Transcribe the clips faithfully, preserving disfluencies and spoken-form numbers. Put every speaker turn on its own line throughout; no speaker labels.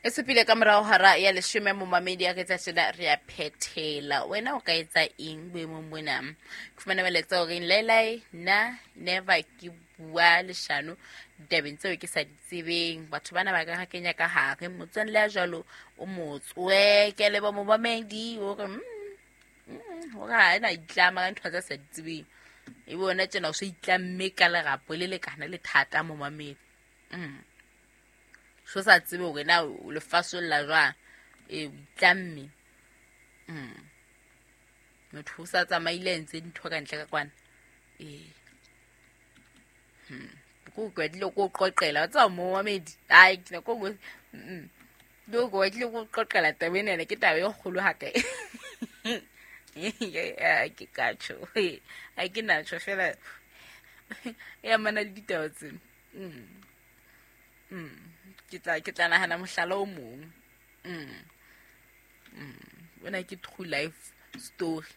E supile ka morao hora ya leshome, momamedi a re tsa tjena re a phethela. Wena o ka etsa eng boemong bona? Ke fumana melaetsa o reng laelae, nna never ke bua leshano ditabeng tseo ke sa di tsebeng. Batho bana ba ka ra kenya ka hare. Motswalle ya jwalo o motswe ke leba momamedi o re mm, mm, hore ha ena itlama ka ntho tse sa di tsebeng. E bona tjena o so itlamme ka lerapo le lekana le thata momamedi. Mm. So sa tsebe hore na o le fasolla jwang. E o itlamme. Mm. Motho o sa tsamaile a entse dintho ka ntle ka kwana. Ee. Hmm. Ko batlile ko qoqela wa tseba momamedi. Ai ke ko mm. Ke ko batlile ko qoqela taba ena ke taba e kgolo hakae. Ke ka tjho. Ha ke na tjho fela. E amana le ditaba tsena. Mm. Mm. Ke tla ke tla nahana mohlala o mong. Mm. Mm. Ona ke true life story.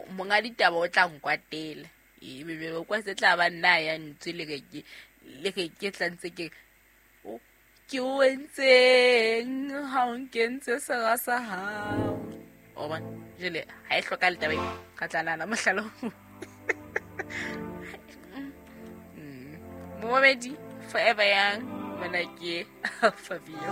Monga ditaba o tla nkwatela. E be be kwa se tla ba nna ya ntse le ke le ke ke tla ntse ke o ke o entseng ha o nkentse sera sa hao. O bona jele ha e hloka le taba e ka tla nahana mohlala o mong. Mm. Momamedi forever young. Mona ke Fabio.